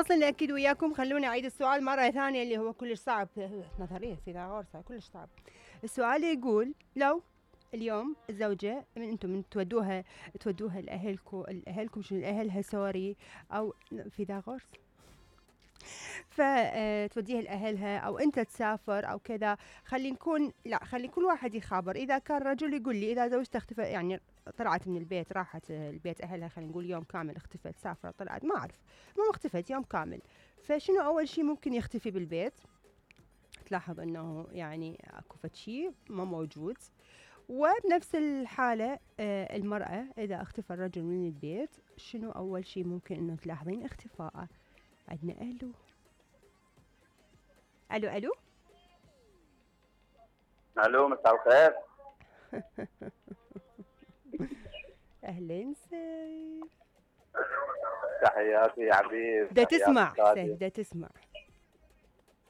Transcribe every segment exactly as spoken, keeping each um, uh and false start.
متواصلين اكيد وياكم. خلوني اعيد السؤال مره ثانيه اللي هو كلش صعب، نظريه فيثاغورس كلش صعب. السؤال يقول لو اليوم الزوجه من انتم من تودوها تودوها لاهلكم الاهلكم شنو اهلها سوري او فيثاغورس فتوديها لاهلها او انت تسافر او كذا، خلي نكون لا خلي كل واحد يخابر. اذا كان رجل يقول لي اذا زوجته اختفى يعني طلعت من البيت راحت البيت اهلها خلينا نقول يوم كامل اختفت سافرت طلعت ما اعرف مو اختفت يوم كامل، فشنو اول شيء ممكن يختفي بالبيت؟ تلاحظ انه يعني اكو فد شيء ما موجود. وبنفس الحاله المراه اذا اختفى الرجل من البيت شنو اول شيء ممكن انه تلاحظين اختفاءه؟ عندنا الو الو الو الو مساء الخير. اهلين سيف. تحياتي يا حبيب. دا تسمع سيف دا تسمع؟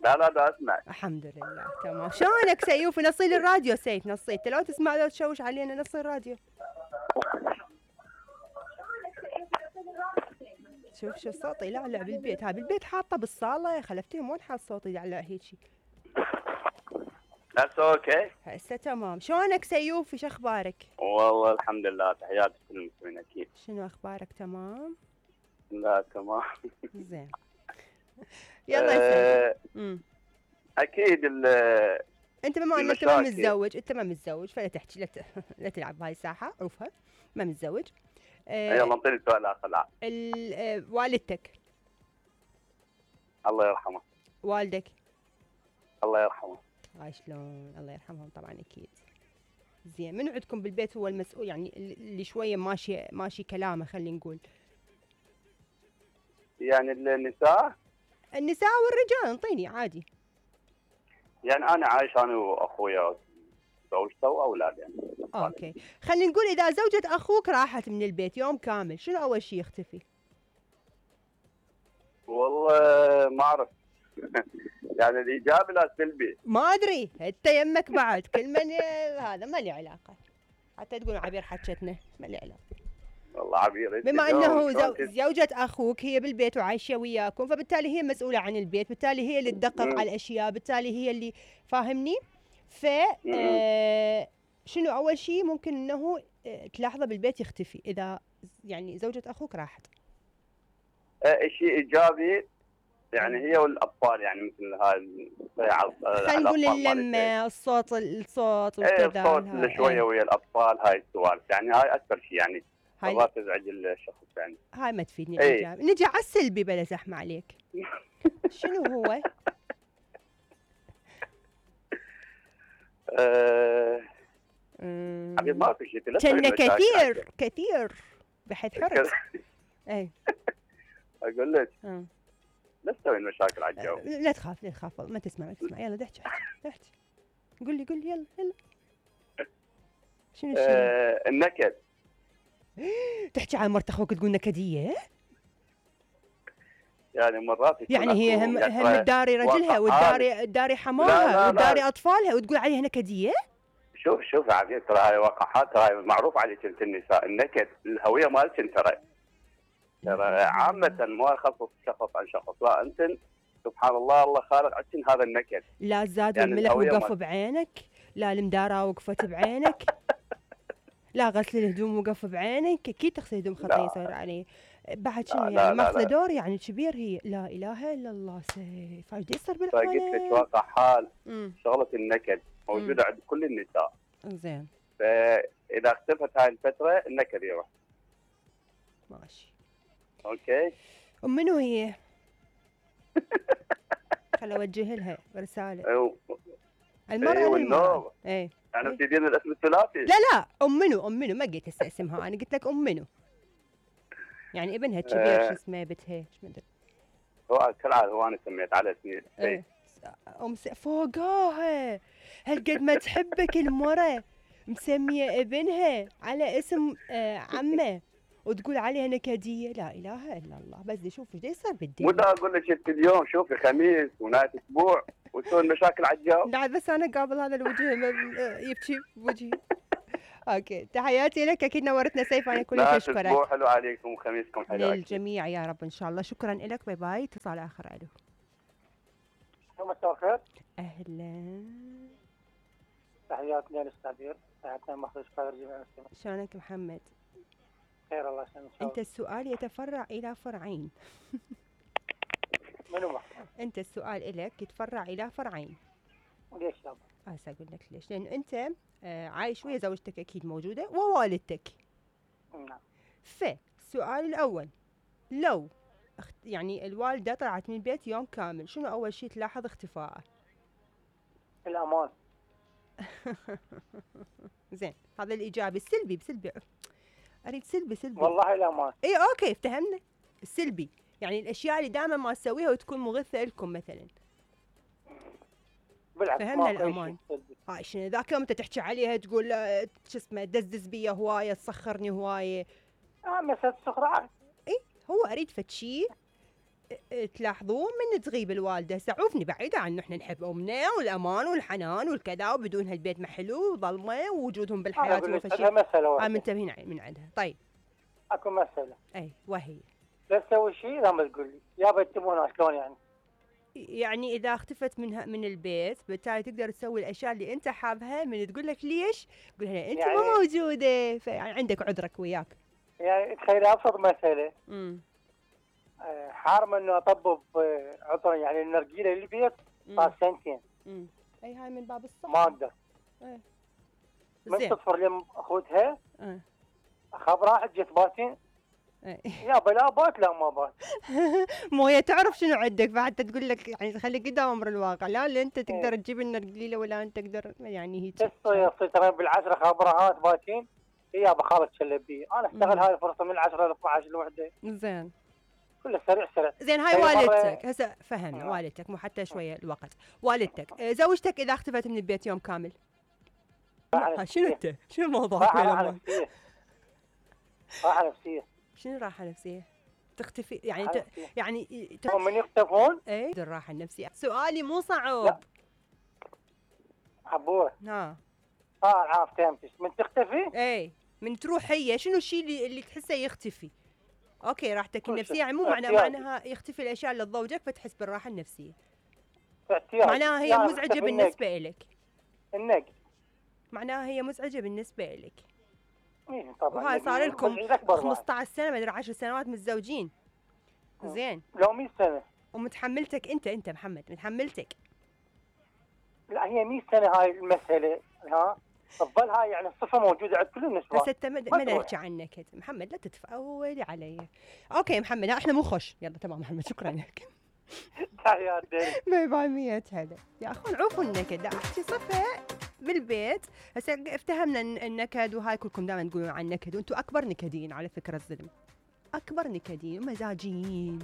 لا لا دا اسمع الحمد لله تمام. شلونك سيوف؟ نصي لي الراديو سيف نصي، انت لو تسمع لو تشوش علينا نصي الراديو. شوف شو صوتي يلعلع بالبيت، ها بالبيت حاطه بالصاله خلفتيهم وين حاط صوتي يلعلع هيجي؟ هسه اوكي هسه تمام. شلونك سيوف؟ ايش اخبارك؟ والله الحمد لله تحياتي كل المسلمين اكيد. شنو اخبارك؟ تمام؟ لا تمام زين يلا يا سيف. اكيد انت بما انك ما متزوج انت ما متزوج فلا تحكي لا لا تلعب بهاي الساحه عرفها ما متزوج. آه يلا انطيني سؤال اخر. آه والدتك الله يرحمه. والدك الله يرحمه. هاي شلون الله يرحمهم طبعا اكيد. زين من عندكم بالبيت هو المسؤول يعني اللي شويه ماشي ماشي كلامه خلينا نقول؟ يعني النساء النساء والرجال انطيني عادي. يعني انا عايش انا واخويا زوجته واولاد يعني. اوكي خلينا نقول اذا زوجة اخوك راحت من البيت يوم كامل شنو اول شيء يختفي؟ والله ما اعرف يعني الايجابي لا سلبي ما ادري انت يمك بعد كل من هذا ما لي علاقه حتى تقول عبير حكتنا ما لي علاقه. والله عبير بما انه زو... زوجة اخوك هي بالبيت وعايشه وياكم فبالتالي هي مسؤوله عن البيت، بالتالي هي اللي تدقق على الاشياء، بالتالي هي اللي فاهمني. ف آه... شنو اول شيء ممكن انه تلاحظه بالبيت يختفي اذا يعني زوجة اخوك راحت؟ آه شيء ايجابي يعني هي والاطفال يعني مثل هاي خلينا نقول اللمه الصوت الصوت وكذا الصوت اللي شويه ويا الاطفال هاي السوالف يعني هاي اكثر شيء يعني ما تزعج الشخص يعني. هاي ما تفيدني الايجابي. نجي على السلبي بلا زحمه عليك. شنو هو؟ ااا حبيبي ما في شيء كنا كثير كثير بحيث حرص. اي اقول لك لا تسوي مشاكل على الجو. لا تخاف لا تخاف ما تسمع ما تسمع يلا احكي احكي قول لي قول لي يلا يلا. شنو الشيء؟ آه النكد. تحكي عن مرت اخوك تقول نكديه؟ يعني مرات يعني هي هم هم تداري رجلها وتداري تداري حماها وتداري اطفالها وتقول عليها نكديه؟ شوف شوف عبيد ترى هاي وقحات هاي معروف عليك انت النساء النكد الهويه مالتك ترى ترى عامة ما يخصص شخص عن شخص لا انت سبحان الله الله خالق عندك هذا النكد. لا الزاد يعني والملح وقف بعينك، لا المدارة وقفت بعينك، لا غسل الهدوم وقف بعينك، اكيد تغسل هدوم خطيه يصير عليه بعد شنو يعني ماخذه دور يعني كبير هي. لا اله الا الله سيف ايش يصير بالعالم؟ فقلت لك واقع حال شغله النكد موجوده عند كل النساء. زين فاذا اختفت هاي الفتره النكد يروح. ماشي اوكي. ام منو هي؟ خل اوجه لها رساله. المرأة والنور ايه يعني تدين الاسم الثلاثي؟ لا لا ام منو ام منو ما قلت هسه اسمها انا قلت لك ام منو يعني ابنها كبير آه. شو اسمه بنتها ايش ما ادري هو كالعاده هو انا سميت على اسمي ايه ام س... فوقاها هالقد ما تحبك المرة مسميه ابنها على اسم آه عمه وتقول عليها نكديه. لا اله الا الله. بس دي شوف ايش يصير بالدين. مو اقول لك انت اليوم شوفي خميس ونهايه اسبوع وتسوي مشاكل على الجو. لا بس انا قابل هذا الوجه يبكي بوجهي. اوكي تحياتي لك، اكيد نورتنا سيف، انا كلش لا اشكرك. اسبوع حلو عليكم وخميسكم حلو أكيد. للجميع يا رب ان شاء الله. شكرا لك، باي باي. اتصال اخر. الو مساء الخير. اهلا، تحياتنا للأستاذ، تحياتنا مخرج خير جميع المسلمين. شلونك محمد؟ خير الله يسلمك. انت السؤال يتفرع الى فرعين. منو محمد؟ انت السؤال الك يتفرع الى فرعين. وليش يابا؟ هسه اقول لك ليش. لان انت آه عايش ويا زوجتك اكيد موجوده ووالدتك. نعم. فالسؤال الاول، لو اخت... يعني الوالده طلعت من البيت يوم كامل، شنو اول شيء تلاحظ اختفائه؟ الأمان. زين، هذا الايجابي. السلبي بسلبي، اريد سلبي سلبي. والله الأمان. اي اوكي افتهمنا. السلبي يعني الاشياء اللي دائما ما تسويها وتكون مغثه لكم مثلا. بالعكس فهمنا الامان. هاي شنو ذاك يوم انت تحكي عليها تقول شو اسمه دزدز بيا هوايه، تسخرني هوايه. اه مسألة السخرة. اي هو اريد فد شيء تلاحظوه من تغيب الوالده. سعوفني بعيده عنه، احنا نحب امنا والامان والحنان والكذا، وبدون هالبيت ما حلو وظلمه ووجودهم بالحياه هو شيء. مسألة اه منتبهين من عندها. طيب اكو مسألة. اي وهي لا تسوي شيء لا ما تقول لي يابا تبون شلون يعني. يعني اذا اختفت من من البيت بالتالي تقدر تسوي الاشياء اللي انت حابها. من تقول لك ليش؟ تقول لها انت يعني مو موجوده، فيعني عندك عذرك وياك. يعني تخيل ابسط مساله. امم حارمه انه اطبب عطر يعني النرجيله للبيت صار سنتين. امم اي هاي من باب الصح. ما اقدر. ايه من تطفر لي اخوتها. ايه اخاف راحت جت باتين. ايه يابا لا بات لا ما بات. مو هي تعرف شنو عندك، فحتى تقول لك يعني خليك قدام امر الواقع. لا لا انت تقدر تجيب لنا قليله ولا انت تقدر يعني هيك. تصير ترى بالعشره خبرهات باتين. يابا خالد شلبيه انا اشتغل هاي الفرصه من العشره ل اثنعش الوحده. زين كله سريع سريع. زين هاي والدتك هسه فهمنا. آه. والدتك مو حتى شويه الوقت. والدتك زوجتك اذا اختفت من البيت يوم كامل شنو انت؟ شنو الموضوع؟ راحه نفسيه. راحه نفسيه. شنو راحه نفسيه؟ تختفي يعني ت... يعني ت... من يختفون؟ اي الراحه النفسيه. سؤالي مو صعب. حبوه. ها اه عارف فهمتش. من تختفي؟ اي من تروح هي شنو الشيء اللي, اللي تحسه يختفي؟ اوكي راحتك النفسيه يعني مو معناها معناها يختفي الاشياء اللي تضوجك فتحس بالراحه النفسيه. معناها هي مزعجه بالنسبه لك. النق معناها هي مزعجه بالنسبه لك. ايه طبعا. وهاي صار لكم خمسطعش سنه مدري عشر سنوات متزوجين. زين لو مية سنه. ومتحملتك انت انت محمد متحملتك. لا هي مية سنه هاي المساله. ها تظل هاي يعني الصفه موجوده عند كل النسوان. بس انت ما نحكي عنك محمد، لا تتفاولي علي. اوكي محمد احنا مو خوش. يلا تمام محمد شكرا لك. تحياتي. باي باي. مية هلا يا اخوان. عوفوا النكد. احكي صفه بالبيت. هسه افتهمنا النكد وهاي كلكم دائما تقولون عن النكد، وانتم اكبر نكدين على فكره. الظلم اكبر نكدين ومزاجيين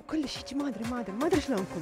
وكل شيء. ما ادري ما ادري ما ادري شلونكم.